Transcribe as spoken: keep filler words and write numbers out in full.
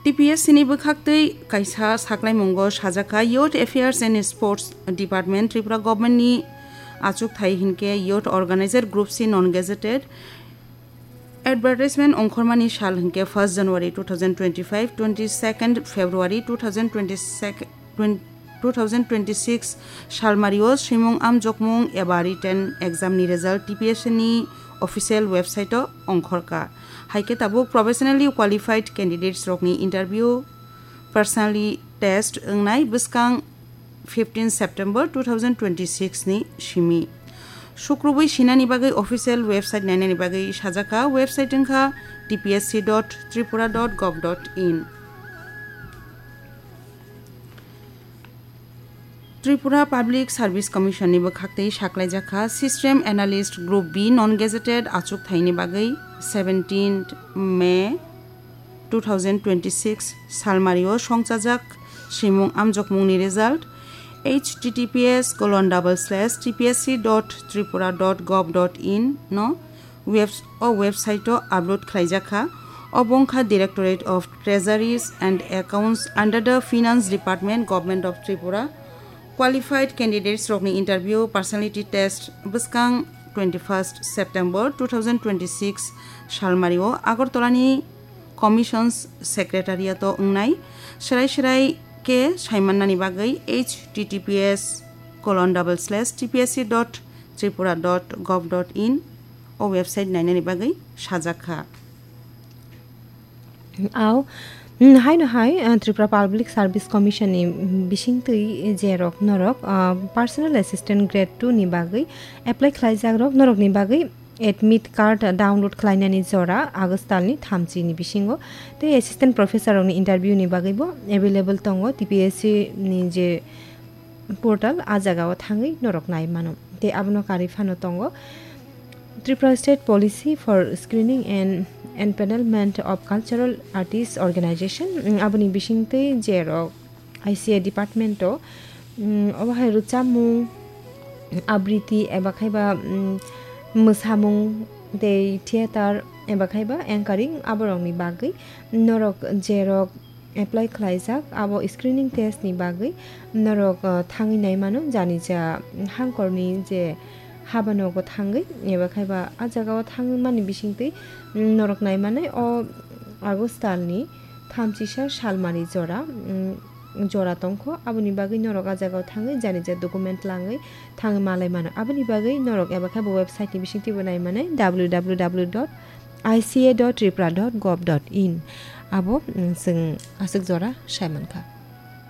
T P S C ni bwkhaktwi kaisa saklaimungo sajakha, Youth Affairs and Sports Department, Tripura Government ni achukthai hinkhe Youth Organizer Group C non-gazetted. Advertisement ongkhormani sal hinkhe first January two thousand twenty-five, twenty-second February two thousand twenty-second, two thousand twenty-six salmario swimung amjokmung eba written exam ni result T P S C ni official website o ongkhorkha. Haikhe tabuk professionally qualified candidates rokni interview, personally test wngnai bwskang fifteen September two thousand twenty-six ni simi. Sukrubwi sinani bagwi official website nainani bagwi sajakha, website wngkha T P S C dot tripura dot gov dot in. Tripura Public Service Commission ni bwkhaktwi saklaijakha System Analyst Group B non-gazetted achukthai ni bagwi seventeenth May two thousand twenty-six salmario songchajak swimung amjokmung ni result H T T P S colon double slash T P S C dot tripura dot gov dot in no webs-, o website o upload khlaijakha. Obo wngkha Directorate of Treasuries and Accounts under the Finance Department, Government of Tripura. Qualified candidates rokni interview, personality test bwskang twenty-first September two thousand twenty-six salmario Agartala ni Commissions Secretariat o wngnai. Serai serai khe saimannani bagwi H T T P S colon double slash T P S C dot tripura dot gov dot in o website nainani bagwi sajakha. Au, mm, haino hai, uh, Tripura Public Service Commission ni, mm, bisingtwi je rok norok, uh, Personal Assistant Grade two ni bagwi apply khlaijak rok norok ni bagwi admit card download khlainani jora August talni thamchi ni bisingo tei assistant professor rokni interview ni bagwibo available tongo T P S C ni je portal, a jagao thangwi norok nai mano. Tei abono karwi phano tongo Tripura State Policy for Screening and Empanelment of Cultural Artists Organization, mm, aboni bisingtwi je rok I C A department o, mm, obo hai rwchapmung, abriti eba khaiba, mm, mwsamung tei theater eba khaiba anchoring aborokni bagwi norok je rok apply khlaijak, abo screening test ni bagwi norok, uh, thangwi nai mano, jani ja hangkorni je habanogo thangwi eba khaiba a jagao thangmani bisingtwi, mm, norok nai manai o August talni thamchisa salmari jora, mm, jora tongkho, aboni bagwi norok a jagao thangwi jani ja document langwi thangwi malai mano. Aboni bagwi norok eba khaiba website ni bisingtwibo nai manai W W W dot I C A dot tripura dot gov dot in. Abo, mm, chwng aswk jora sai mankha.